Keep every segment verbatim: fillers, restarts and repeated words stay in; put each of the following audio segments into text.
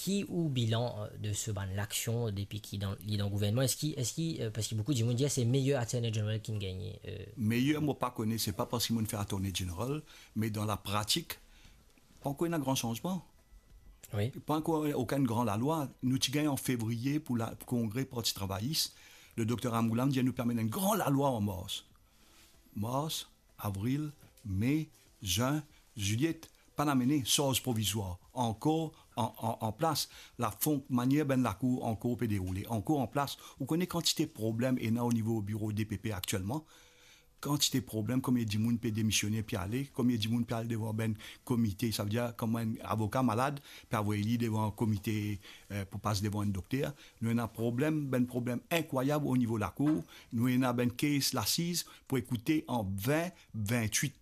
Ki ou bilan, euh, de se bann laksion depi ki dan, li dan gouvernman? Eski, eski, euh, parski boukou dimoun dir se meyer Attorney General ki'nn gagne, euh, Meyer, mo pa kone, se pa parski mo'nn fer Attorney General, me dan lapratik, pankor ena gran sanzman. Wi. Pankor okenn gran lalwa. Nou ti gagn an fevriye pou la, pou kongre Parti Travayis. Le dokter Ramgoolam dir nou pe amenn enn gran lalwa an mars. Mars, avril, me, zin, zilyet, pa'nn amene, sarz provizwar, ankor an, an, an plas. Lafon, manier bann lakour ankor pe deroule, ankor an plas. Ou kone kantite problem ena o nivo biro D P P aktielman? Kantite problem, konbien dimoun pe demisione, pe ale, konbien dimoun pe al devan bann komite, savedir kouma enn avoka malad, pe avoy li devan komite, eh, pou pas devan enn dokter. Nou ena problem, bann problem inkrwayab o nivo lakour. Nou ena bann case lasiz pou ekoute an vin vintwit.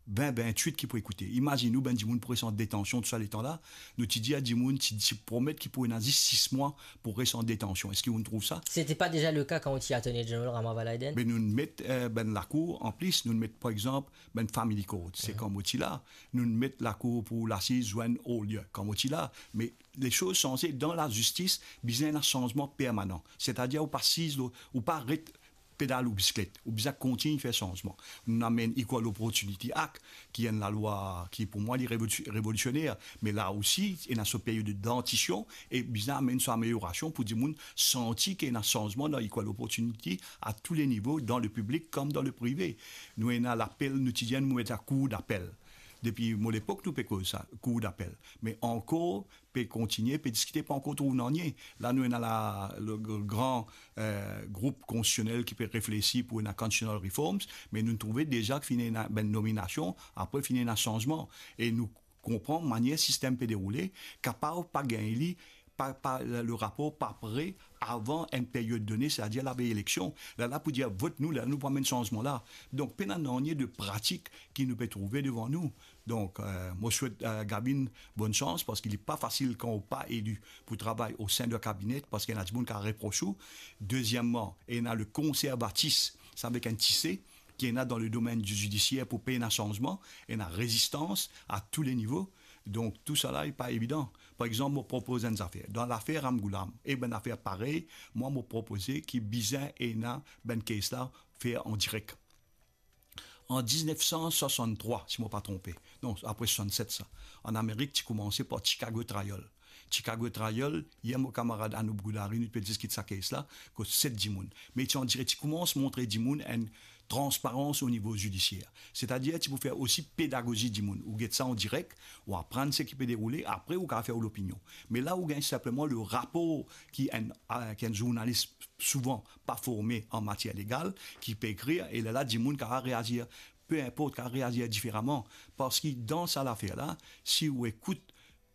Vin vintwit ki pou ekoute. Imazinn ou, bann dimoun pou res an detansion tou sa letan la. Nou ti dir a dimoun, ti, ti promet ki pou ena zis sis mwa pou res an detansion. Eski ou'nn trouv sa? Sete pa deza le ka kan ou ti Attorney General, Rama Valaiden? Be nou'nn met, eh, bann lakour, anplis, nou'nn met, par exanp, bann family court. Se kan mo ti la. Nou'nn met lakour pou lasiz zwenn Olye, kan mo ti la. Me lesoz sanze dan lazistis, bizin ena sanzman permanan. Setadir ou pa siz, ou pa ret pedal ou bisiklet, ou bizin kontign fer sanzman. Nou amenn Equal Opportunity Act, ki enn lalwa ki, pou mwa, li revolision-, revolisioner, me la osi, ena so period dantision, e bizin amenn so ameliorasion pou dimoun santi ki ena sanzman dan equal opportunity a tou le nivo, dan le piblik kom dan le prive. Nou ena lapel, nou ti dir nou met sa kour dapel. Depi mo lepok, nou pe koz sa, kour dapel. Me ankor, pe kontigne, pe diskite, pa ankor trouv nanye. La, nou ena la, le gr-, gran, eh, group konstitisionel ki pe reflesi pou ena constitutional reforms, me nou trouve deza ki finn ena bann nominasion, apre finn ena sanzman. E nou konpran manier sistem pe deroule, kapav pa gagn li, pa, pa, le rapor pa pre avan enn period done, setadir lavey eleksion. Lerla pou dir, vot nou, lerla nou pou amenn sanzman la. Donk, pena nanye de pratik ki nou pe trouve devan nou. Donk, eh, mo swet, eh, Gavin bonn sans, parski li pa fasil kan ou pa eli pou travay o sein de kabine, parski ena dimoun ki a repros ou. Dezieman, ena le konservatis, sa avek enn ti C, ki ena dan le domenn di zidisier pou pa ena sanzman, ena rezistans a tou le nivo. Donk, tou sa la, li pa evidan. Par exanp, mo propoz enn zafer. Dan lafer Ramgoolam, e bann zafer parey, mwa, mo propoze ki bizin ena bann case la fer an direk. An diznef san swasanntrwa, si mo pa tronpe, non, apre swasannset sa, an Amerik ti koumanse par Chicago Trial. Chicago Trial, yer mo kamarad Anup Goodhary, nou pe diskit sa case la, kot set dimoun. Me ti an direk, ti koumans montre dimoun enn transparans o nivo zidisier. Setadir, ti pou fer osi pedagozi dimoun. Ou get sa an direk, ou aprann seki pe deroule, apre ou kapav fer ou lopinion. Me la, ou gagn sinpleman le rapor ki enn, ki enn zournalis souvan pa forme an matier legal, ki pe ekrir, e lerla dimoun kapav reazir, pe inport, kapav reazir diferaman. Parski dan sa lafer la, si ou ekout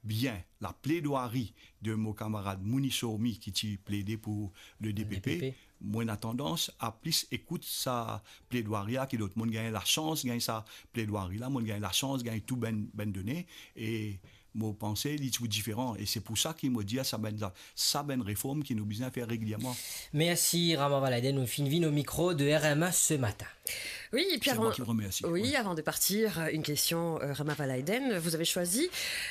bien lapledwari de mo kamarad Mouni Sourmi ki ti plede pou le D P P, D P P, mo ena tandans a plis ekout sa pledwari la ki lot. Mo'nn gagn lasans gagn sa pledwari la, mo'nn gagn lasans gagn tou bann, bann done, e mo panse li ti pou diferan, e se pou sa ki mo dir sa bann, sa bann reform ki nou bizin fer regilierman. Mersi Rama Valaiden, nou finn vinn o mikro de R M A ce matin. Oui, et puis C'est avant, moi qui remercie. Oui, ouais. Avant de partir, une question, euh, Rama Valaiden. Vous avez choisi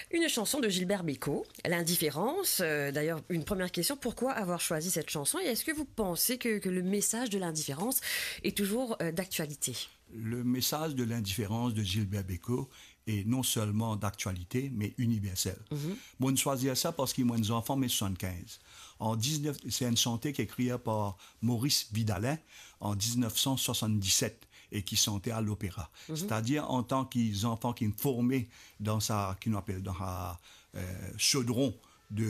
une chanson de Gilbert Bécaud, L'Indifférence. Euh, d'ailleurs, une première question, pourquoi avoir choisi cette chanson et est-ce que vous pensez que, que le message de l'indifférence est toujours, euh, d'actualité ? Le message de l'indifférence de Gilbert Bécaud est non seulement d'actualité, mais universel. Mhm. Mo'nn swazir sa parski mo'nn zanfan me swasannkinz. An diznef, se enn sante ki ekrir par Maurice Vidalin an diznef san swasanndiset e ki sante a lopera. Mhm. Setadir, antan ki zanfan ki forme dan sa, ki nou apel dan sa, eh, sodron de,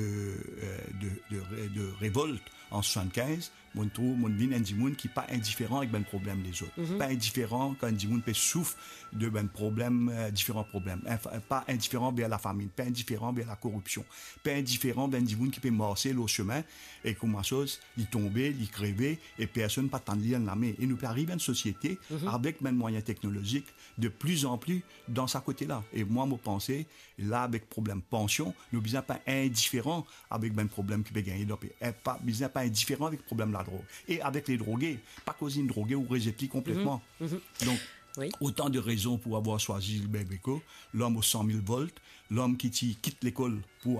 eh, de, de re-, de revolt an swasannkinz, mo'nn trouv, mo'nn vinn enn dimoun ki pa indiferan avek bann problem lezot. Mhm. Pa indiferan kan enn dimoun pe soufrir de bann problem, eh, diferan problem. Enf-, pa indiferan ver lafami, pa indiferan ver lakoripsion, pa indiferan ver enn dimoun ki pe marse lor sime e kouma soz, li tonbe, li kreve, e personn pa tann li enn lame. E nou pe ariv enn sosiete, mhm, avek bann mwayin teknolozik, de pli an pli dan sa kote la. E mwa, mo panse, la, avek problem pansion, nou bizin pa indiferan avek bann problem ki pe gagne dan pei. E pa, bizin pa indiferan avek problem ladrog. E avek le droge, pa koz inn droge, ou rezet li konpletman. Mhm, mhm. Donk, oui, otan de rezon pou avoir swazi Gilbert Bécaud, lom o san mil volt, lom ki ti kit lekol pou